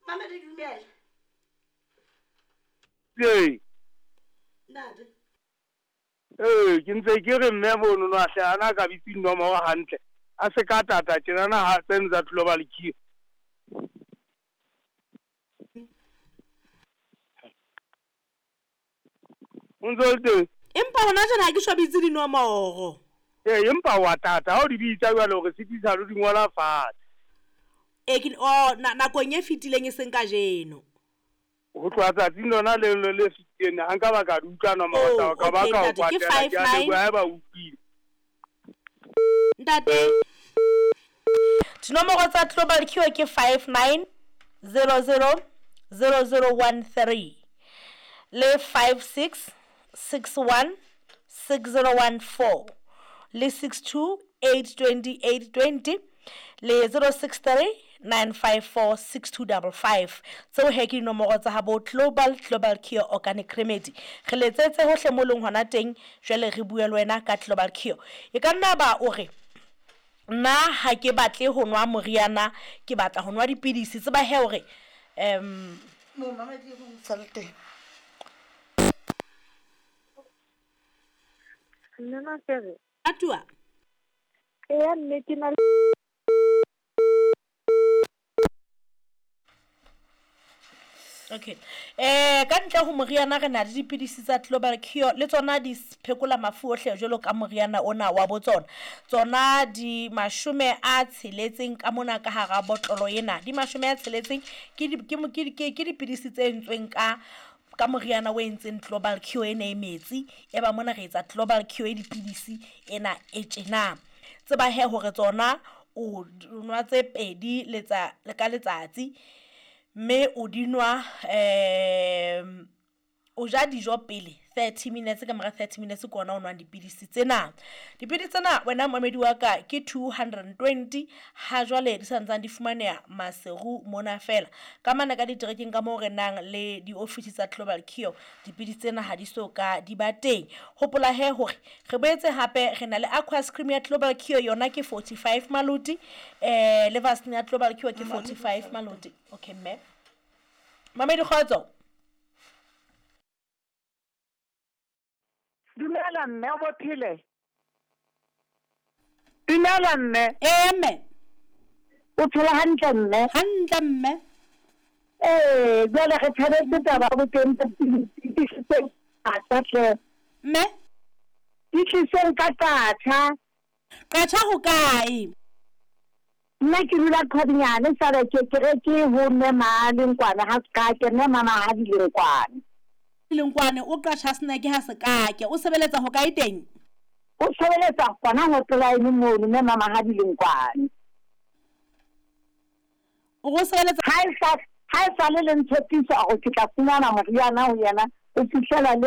Mamedi dumela. Ee. Ntate. Ee, ke ntse ke re mme monono a hle a na ka bitse dinomoro hantle. A se ka tata tjenana ha tseno tsa Global Cure. O ntse o le teng? Empa hona jwale ha ke so bitse dinomoro. Ee, empa wa tata ha o di bitsa jwale o re sitisa le ho di ngola fatshe. Ee, ke oh, na, nakong e fetileng e seng kajeno. Ho tloha tsatsing lona leo le le fetileng ha nka ba ka di utlwa nomoro tsa Oh, hao, ka ba okay, ka o ntate, ke kwatela. five Ke a nine. leboha haeba o utlwile. Ntate, dinomoro tsa Global Cure ke 59000013 le 56616014 le 6282820 le 0639546255. Tseo he ke dinomoro tsa habo Global Cure Organic Remedy. Re letsetse hohle mo leng hona teng, jwale re bue le wena ka Global Cure. E ka nna ba o re nna ha ke batle ho nwa moriana, ke batla ho nwa dipidisi. Tseba he hore Momamedi e mong sa le teng. Mme Mafere. Atua. Eya mme ke na le Okay. Ka ntle ho moriana re na le dipidisi tsa Global Cure le tsona di phekola mafu ohle jwalo ka moriana ona wa bo tsona. Tsona di 60 ka mona ka hara botlolo ena. Di 60 ke di, ke, ke, ke, ke dipidisi tse entsweng ka moriana o entseng Global Cure ena e metsi. E ba mona re etsa Global Cure e dipidisi ena e tjena. Tseba he hore tsona o nwa tse pedi letsa ka letsatsi, mme o di nwa o ja dijo pele 30 minutes, ka mora 30 minutes ke ona o nwang dipidisi tsena. Dipidisi tsena wena momamedi wa ka ke 220, ha jwale di sa ntsane di fumaneha Maseru mona fela. Ka mane ka diterekeng ka moo re nang le diofisi tsa Global Cure, dipidisi tsena ha di so ka di ba teng. Hopola he hore re boetse hape re na le Aqua Cream ya Global Cure, yona ke 45 maloti, le Vaseline ya Global Cure ke 45 maloti. Okay mme. Mamedi kgotso. Dumela mme, o bophele. Dumela mme. Ee mme. O phela hantle mme? Hantle mme. Ee, jwale re thabetse taba ya boteng ba dipidisi tse hle. Mme? Di tliseng ka qatjha. Qatjha ho kae? Nna ke dula Qhadinyane, sale ke ke re ke ho mme Malenkwane ha Sekake, mme mama ha Dilenkwane. Dilenkwane o qatjha snack ha Sekake. O sebeletsa ho kae teng? O sebeletsa hona hotline mono, mme mama ha Dilenkwane. O go sebeletsa Ha e sa le le ntshepisa hore ke tla fumana moriana ho yena, o fihlela le